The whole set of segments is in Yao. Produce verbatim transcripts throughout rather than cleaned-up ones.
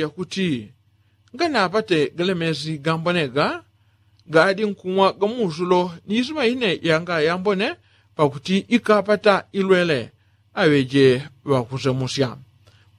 yakuti nganapate galemezi gambonega gaadi nkumwa gamusulo ni isima ine yanga yambone pakuti ikapata ilwele aŵeje ŵakusemusya.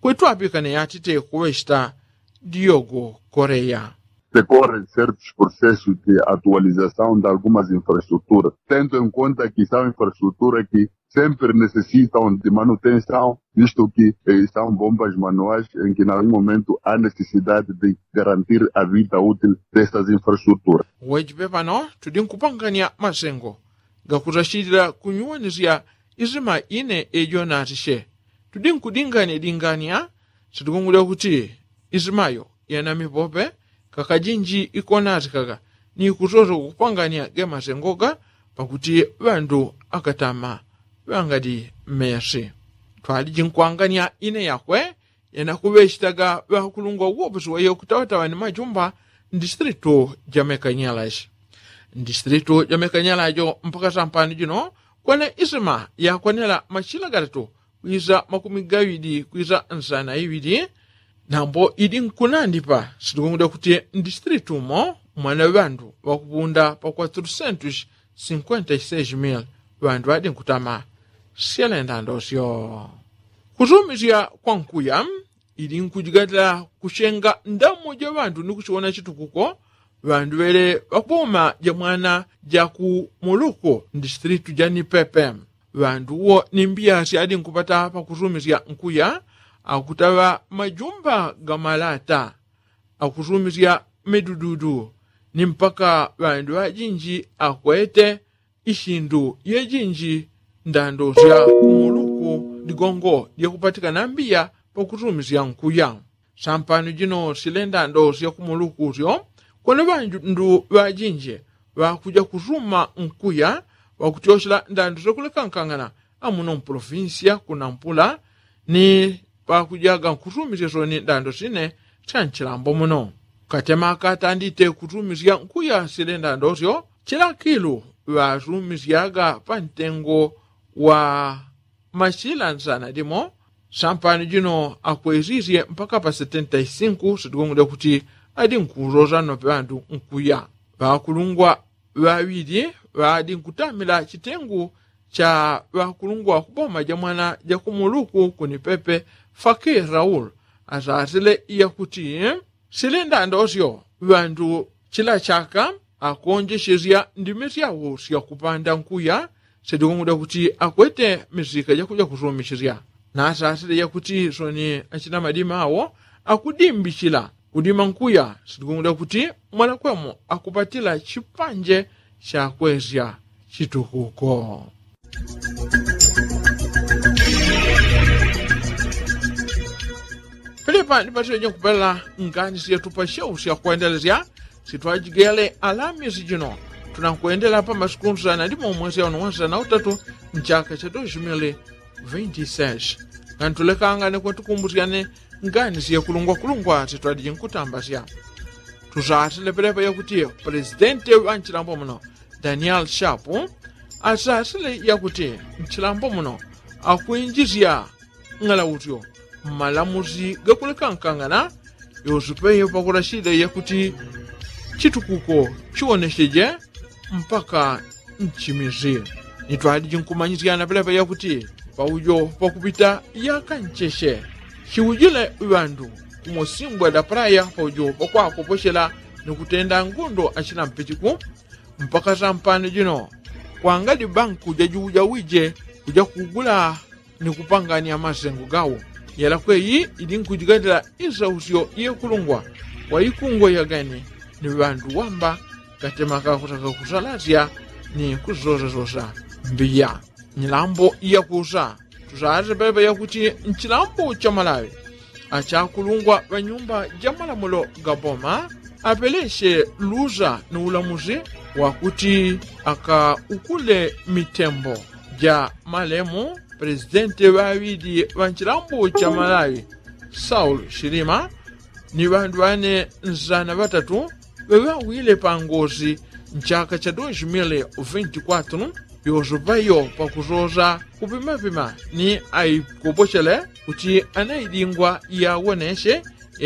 Kwetu apikane yatite kuŵechita diogo koreya. Sekorre sertos procesos de atualizasaun de algumas infrastruturas tendo em conta ki são infrastruturas ki sempre necessitam de manutensaun visto ki são bombas manuais em ki na algum momento a necessidade de garantir a vida útil dessas infrastruturas. Wejipe pano tudi nkupangania masengo gakusasilila kunyuwanisya isima ine ejo natisye tudi nkudingania dingania sitikungulya kuti isimayo yana mipope kakajinji ikonatikaga ni kusoso kupangania gemasengoga pakuti ŵandu akatama ŵangadi mmesi. Twaliji nkwangania ine yakwe yanakuŵechitaga ŵakulungwa uwoposi wayo kutawatawa ni majumba mdistritu ja mekanyalaji mdistritu ja mekanyalajo mpaka sampani jino kwene isima yakwanela machila gatatu kwisa makumi gaŵidi kwisa nsana iŵidi. Nambo idi nkunandipa sitikungulya kuti mdistritu mo mwana ŵandu ŵakupunda pa kwatrusentus sinkwenta iseji mili ŵandu ŵadi nkutama syalenda ndosyo. Kusumisya kwa nkuya ili nkujigatila kuchenga ndamo ja ŵandu ni kuchiwona chitukuko ŵandu ŵele ŵakuboma ja mwana ja ku muluku mdistritu ja nipepe. Ŵandu wo ni mbiya syadi nkupata pakusumisya nkuya akutaŵa majumba ga malata akusumisya midududu ni mpaka ŵandu ŵajinji akwete ishindu yejinji ndando sya kumuluku ligongo lyakupatikana mbiya pakusumisya nkuya. Sampano jino sile ndando sya kumuluku syo kwene ŵandu ŵajinji ŵakuja kusuma nkuya ŵakutyoshela ndando syakulekankangana amuno mpolofinsiya kunampula ni ŵakujaga nkusumisya soni ndando sine sya nchilambo muno. Katema katandite kusumisya nkuya sile ndando syo chilakilu ŵasumisyaga pa ntengo wa machila nsana limo. Sampano jino akwesisye mpaka pa setenta isinku sitikungulya kuti adi nkusosa nope ŵandu nkuya. Ŵakulungwa ŵaŵili ŵadi nkutamila chitengu cha ŵakulungwa kuboma ja mwana ja kumuluku kunipepe faki raul asasile yakuti sili ndandosyo ŵandu chila chaka akonjesesya ndimi syawo syakupanda nkuya. Syatikungulya kuti akwete misika jakuja kusumisisya nasasile yakuti soni achina madima awo akudimbisila kudima nkuya syatikungulya kuti mwanakwemo akupatila chipanje chakwesya chitukuko. Pelepa ndipatile jokupela ngani syetupa syau syakwendelesya sitwajigele alamisi jino tunankwendela pa masiku nsana limo mwesi auno wansana utatu nchaka cha dos mili vinti seis. Ngani tulekangane kwatukumbusyane ngani syekulungwakulungwa sitwaliji nkutambasya. Tusasile pelepa yakuti presidenti ŵanchilambo muno daniel shapu asasile yakuti nchilambo muno akwinjisya ng'alautyo mmalamusi gakulekankangana yosupeyo pakulashile yakuti chitukuko chiwonesheje mpaka nchimisi. Nitwaliji nkumanyisyana pelepa yakuti paujo pakupita yakancheshe chiujile ŵandu kumosimbwa dapalaya paujo pakwakoposhela ni kutenda ngundo achina mpichiku mpaka sampano jino kwangadi banku jajuujawije kuja kugula ni kupangania masengo gawo. Yalakwe iyi ili nkujigatila isausyo yekulungwa kwa ikungwa yagane ni ŵandu wamba katema kakutaka kusalasya ni kusosasosa mbiya nyilambo yakusa. Tusase pepe yakuti nchilambo cha malawi achakulungwa ŵanyumba ja malamulo ga boma apelesye lusa ni ulamusi wakuti akaukule mitembo ja malemu presidenti ŵaŵili ŵa nchilambo cha malawi saul shilima ni ŵandu ŵane nsana ŵatatu ŵeŵawile pangosi nchaka cha dos mili vinti kwatru yosupayo pakusosa kupimapima ni aikopochele kuti anaidingwa yawonesye